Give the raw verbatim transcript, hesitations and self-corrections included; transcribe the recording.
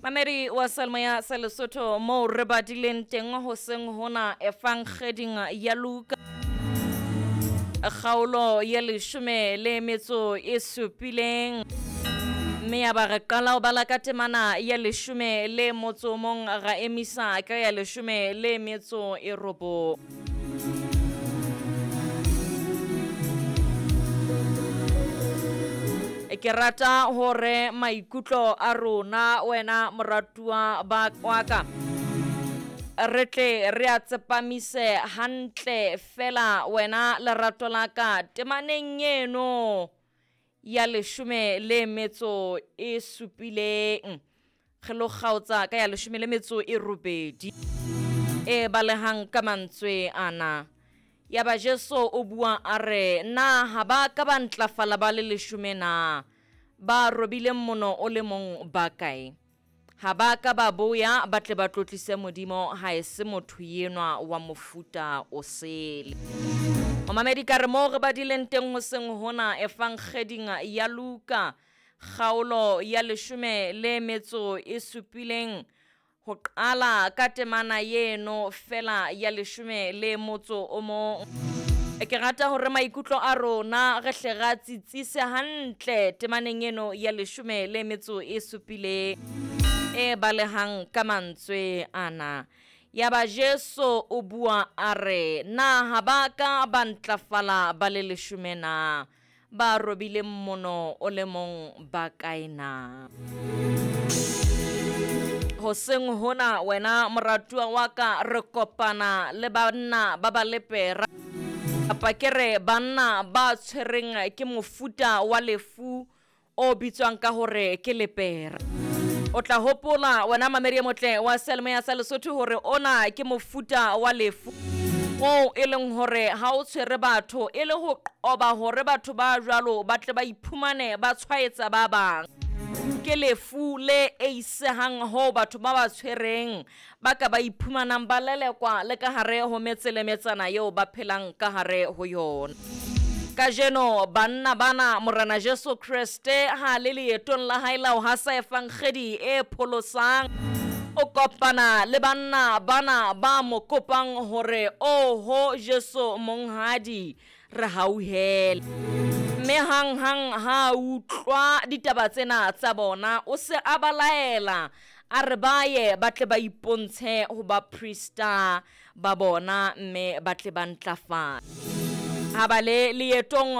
Mamedi wa Seyalemoya sa Lesotho, moo re badileng teng hoseng hona efankgeding ya Luka kgaolo ya leshome le metso e supileng, mme ya ba re qala ho bala ka temana ya leshome le motso o mong, ra emisa ka ya leshome le metso e robong. Ke rata hore maikutlo a rona wena moratuwa ba wa ka re tle re a tsepamise hantle fela wena lerato la ka temaneng eno ya leshome le metso e supileng. Re lo kgaotsa ka ya leshome le metso e robedi e balehang ka mantswe ana. Ya ba Jesu o bua a re, na ha ba ka ba ntlafala ba le leshome na? Ba robileng mono o le mong ba kae? Ha ba ka ba boya ba tle ba tlotlise Modimo, ha e se motho enwa wa mofuta o sele. Momamedi, ka re moo re badileng teng hoseng hona efankgeding ya Luka kgaolo ya leshome le metso e supileng, ho qala ka temana eno fela ya leshome le motso o mong. Ke rata hore maikutlo a rona re hle ra tsitsise hantle temaneng eno ya leshome le metso e supileng e balehang ka mantswe ana. Ya ba Jesu o bua a re, na ha ba ka ba ntlafala ba le leshome na? Ba robileng mono o le mong ba kae na? Hoseng hona wena moratuwa wa ka re kopana le banna ba ba lepera, kapa ke re banna ba tshwereng ke mofuta wa lefu o bitswang ka hore ke lepera. O tla hopola wena mamedi e motle wa Seyalemoya sa Lesotho hore ona ke mofuta wa lefu oo e leng hore ha o tshwere batho e le ho qoba hore batho ba jwalo ba tle ba iphumane ba tshwaetsa ba bang. Ke lefu le eisehang ho batho ba ba tshwereng ba ka ba iphumanang ba lelekwa le ka hare ho metse le metsana eo ba phelang ka hare ho yona. Kajeno banna bana Morena Jesu Kreste ha le leetong la hae la ho hasa efankgedi e pholosang, o kopana le banna bana ba mo kopang hore oho Jesu monghadi re hauhele. Mme hang hang ha utlwa ditaba tsena tsa bona, o se a ba laela a re ba ye ba tle ba ipontshe ho baprista ba bona, mme ba tle ba ntlafale. Ha ba le leetong